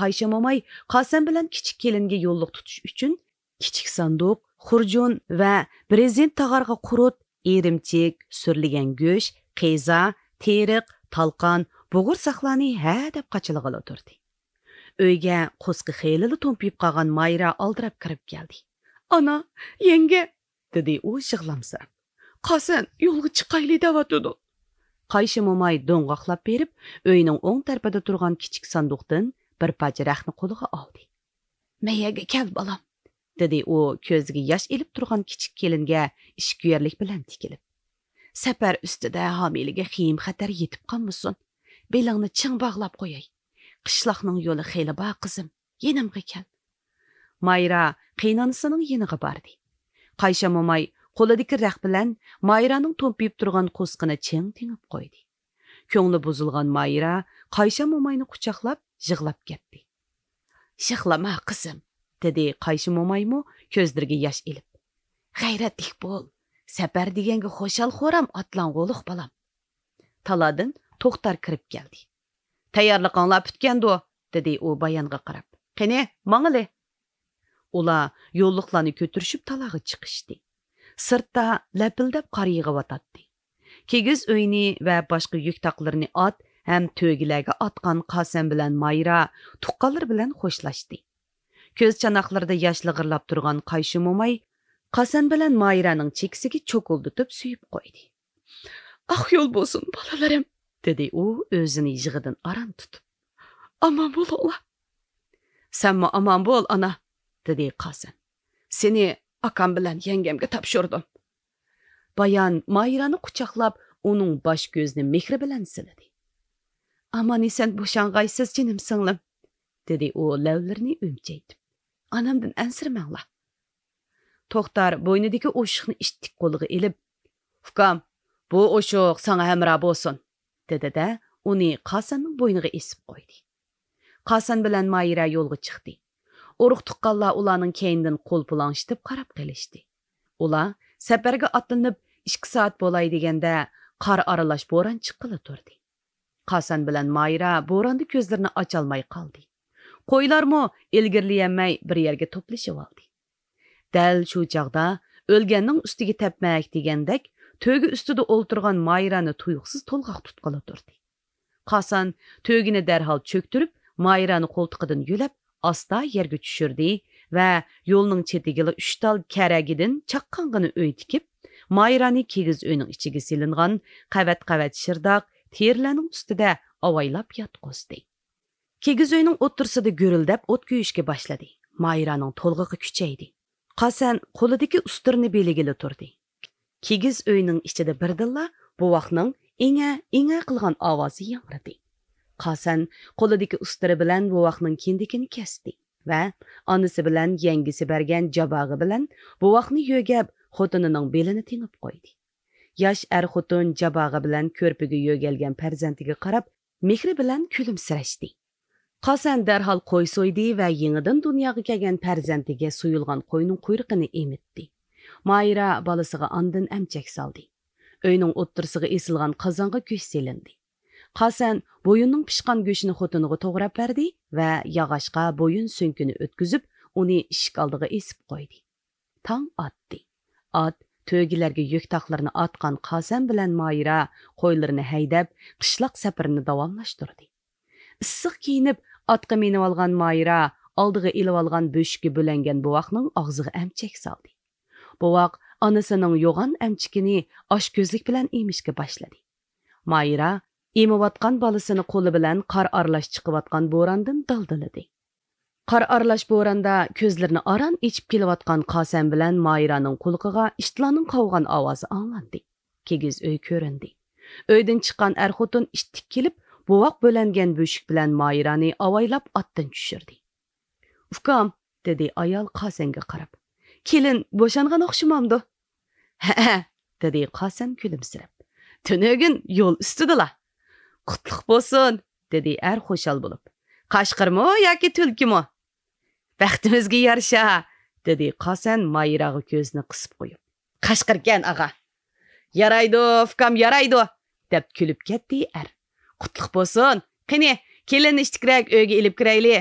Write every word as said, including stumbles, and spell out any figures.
قايشا موماي قاسەن بىلەن كىچىك كېلىنگە يوللۇق تۇتۇش ئۈچۈن كىچىك ساندۇق، خۇرجۇن ۋە برېزېنت تاغارغا قۇرۇت، ئىرىمچىك، سۈرلىگەن گۆش، قىزا، تېرىق، تالقان، بۇغۇرساقلارنى ھەدەپ قاچىلىغىلى تۇردى. ئۆيگە قوسىقى خېلىلا تومپىيىپ قالغان مايرا ئالدىراپ كىرىپ كەلدى. «ئانا، يەڭگە!» دېدى ئۇ يىغلامسىراپ. «قاسەن يولغا چىقايلى دەۋاتىدۇ.» قايشا موماي دوڭغاقلاپ بېرىپ، ئۆينىڭ ئوڭ تەرىپىدە تۇرغان كىچىك ساندۇقتىن بىر پارچە رەختنى قولىغا ئالدى. «مەيەرگە كەل، بالام.» دېدى ئۇ كۆزىگە ياش ئېلىپ تۇرغان كىچىك كېلىنگە ئىچكۈيەرلىك بىلەن تىكىلىپ. «سەپەر ئۈستىدە ھامىلىگە خېيىم-خەتەر يېتىپ قالمىسۇن. بېلىڭنى چىڭ باغلاپ قوياي. قىشلاقنىڭ يولى خېلى بار، قىزىم. يېنىمغا كەل.» مايرا قېينانىسىنىڭ يېنىغا باردى. قايشا موماي قولىدىكى رەخت بىلەن مايرانىڭ تومپىيىپ تۇرغان قوسىقىنى چىڭ تېڭىپ قويدى. كۆڭلى بۇزۇلغان مايرا قايشا موماينى قۇچاقلاپ يىغلاپ كەتتى. «يىغلىما، قىزىم،» دېدى قايشا مومايمۇ كۆزلىرىگە ياش ئېلىپ. «غەيرەتلىك بول. سەپەر دېگەنگە خۇشال-خۇرام ئاتلانغۇلۇق، بالام.» تالادىن توختار كىرىپ كەلدى. «تەييارلىقىڭلار پۈتكەندۇ؟» دېدى ئۇ بايانغا قاراپ. «قېنى، ماڭىلى.» ئۇلار يوللۇقلارنى كۆتۈرۈشۈپ تالاغا چىقىشتى. سىرتتا لەپىلدەپ قار يېغىۋاتاتتى. كىگىز ئۆينى ۋە باشقا يۈك تاقلىرىنى ئات ھەم تۆگىلەرگە ئاتقان قاسەن بىلەن مايرا تۇغقانلىرى بىلەن خوشلاشتى. كۆز چاناقلىرىدا ياش لىغىرلاپ تۇرغان قايشا موماي قاسەن بىلەن مايرانىڭ چېكىسىگە چوكۇلدىتىپ سۆيۈپ قويدى. «ئاق يول بولسۇن، بالىلىرىم!» دېدى ئۇ ئۆزىنى يىغىدىن ئاران تۇتۇپ. «ئامان بولۇڭلار.» «سەنمۇ ئامان بول، ئانا!» دېدى قاسەن. «سېنى ئاكام بىلەن يەڭگەمگە تاپشۇردۇم.» بايان مايرانى قۇچاقلاپ، ئۇنىڭ باش-كۆزىنى مېھرى بىلەن سىلىدى. «ئامان-ئېسەن بوشانغايسىز، جېنىم سىڭلىم!» دېدى ئۇ لەۋلىرىنى ئۈمچەيتىپ. «ئانامدىن ئەنسىرىمەڭلار.» توختار بوينىدىكى ئوشۇقنى ئىتتىك قولىغا ئېلىپ، «ئۇكام، بۇ ئوشۇق ساڭا ھەمراھ بولسۇن.» دېدى-دە، ئۇنى قاسەننىڭ بوينىغا ئېسىپ قويدى. قاسەن بىلەن مايرا يولغا چىقتى. ئۇرۇق-تۇغقانلار ئۇلارنىڭ كەينىدىن قول پۇلاڭشىتىپ قاراپ قېلىشتى. ئۇلار سەپەرگە ئاتلىنىپ ئىككى سائەت بولاي دېگەندە، قار ئارىلاش بوران چىققىلى تۇردى. قاسەن بىلەن مايرا بوراندا كۆزلىرىنى ئاچالماي قالدى. قويلارمۇ ئىلگىرىلىيەلمەي بىر يەرگە توپلىشىۋالدى. دەل شۇ چاغدا ئۆلگەننىڭ ئۈستىگە تەپمەك دېگەندەك، تۆگە ئۈستىدە ئولتۇرغان مايرانى تۇيۇقسىز تولغاق تۇتقىلى تۇردى. قاسەن تۆگىنى دەرھال چۆكتۈرۈپ، مايرانى قولتۇقىدىن يۆلەپ، ئاستا يەرگە چۈشۈردى ۋە يولنىڭ چېتىگىلا ئۈچ تال كەرەگىدىن چاققانغىنا ئۆي تىكىپ، مايرانى كىگىز ئۆينىڭ ئىچىگە سېلىنغان قەۋەت-قەۋەت شىرداق تېرىلەرنىڭ ئۈستىدە ئاۋايلاپ ياتقۇزدى. كىگىز ئۆينىڭ ئوتتۇرىسىدا گۈرۈلدەپ ئوت كۆيۈشكە باشلىدى. مايرانىڭ تولغىقى كۈچەيدى. قاسەن قولىدىكى ئۇستىرىنى بېلىگىلى تۇردى. كىگىز ئۆينىڭ ئىچىدە بىردىنلا بوۋاقنىڭ ئىڭە-ئىڭە قىلغان ئاۋازى ياڭرىدى. قاسەن قولىدىكى ئۇستىرى بىلەن بوۋاقنىڭ كىندىكىنى كەستى ۋە ئانىسى بىلەن يەڭگىسى بەرگەن جاباغا بىلەن بوۋاقنى يۆگەپ، خوتۇنىنىڭ بېلىنى تېڭىپ قويدى. ياش ئەر-خوتۇن جاباغا بىلەن كۆرپىگە يۆگەلگەن پەرزەنتىگە قاراپ، مېھرى بىلەن كۈلۈمسىرەشتى. قاسەن دەرھال قوي سويدى ۋە يېڭىدىن دۇنياغا كەلگەن پەرزەنتىگە سويۇلغان قوينىڭ قۇيرۇقىنى ئېمىتتى. مايرا بالىسىغا ئاندىن ئەمچەك سالدى. ئۆينىڭ ئوتتۇرىسىغا ئېسىلغان قازانغا گۆش سېلىندى. قاسەن بويۇننىڭ پىشقان گۆشىنى خوتۇنىغا توغراپ بەردى ۋە ياغاچقا بويۇن سۆڭىكىنى ئۆتكۈزۈپ، ئۇنى ئىشىك ئالدىغا ئېسىپ قويدى. تاڭ ئاتتى. ئات، تۆگىلەرگە يۈك تاقلىرىنى ئاتقان قاسەن بىلەن مايرا قويلىرىنى ھەيدەپ، قىشلاق سەپىرىنى داۋاملاشتۇردى. ئىسسىق كىيىنىپ، ئاتقا مىنىۋالغان مايرا ئالدىغا ئېلىۋالغان بۆشۈككە بۆلەنگەن بوۋاقنىڭ ئاغزىغا ئەمچەك سالدى. بوۋاق ئانىسىنىڭ يوغان ئەمچىكىنى ئاچكۆزلۈك بىلەن ئېمىشكە باشلىدى. مايرا ئېمىۋاتقان بالىسىنى قولى بىلەن قار ئارىلاش چىقىۋاتقان بوراندىن دالدىلىدى. قار ئارىلاش بوراندا كۆزلىرىنى ئاران ئېچىپ كېلىۋاتقان قاسەن بىلەن مايرانىڭ قۇلىقىغا ئىتلارنىڭ قاۋىغان ئاۋازى ئاڭلاندى. كىگىز ئۆي كۆرۈندى. ئۆيدىن چىققان ئەر-خوتۇن ئىتتىك كېلىپ، بوۋاق بۆلەنگەن بۆشۈك بىلەن مايرانى ئاۋايلاپ ئاتتىن چۈشۈردى. «ئۇكام،» دېدى ئايال قاسەنگە قاراپ، «كېلىن بوشانغان ئوخشىمامدۇ؟» «ھەئە،» دېدى قاسەن كۈلۈمسىرەپ، «تۈنۈگۈن يول ئۈستىدىلا.» «قۇتلۇق بولسۇن!» دېدى ئەر خۇشال بولۇپ. «قاشقىرمۇ ياكى تۈلكىمۇ؟» «بەختىمىزگە يارىشا!» دېدى قاسەن مايراغا كۆزىنى قىسىپ قويۇپ. «قاشقىركەن، ئاغا.» «يارايدۇ، ئۇكام، يارايدۇ!» دەپ كۈلۈپ كەتتى ئەر. «قۇتلۇق بولسۇن! قېنى، كېلىننى ئىتتىكرەك ئۆيگە ئېلىپ كىرەيلى.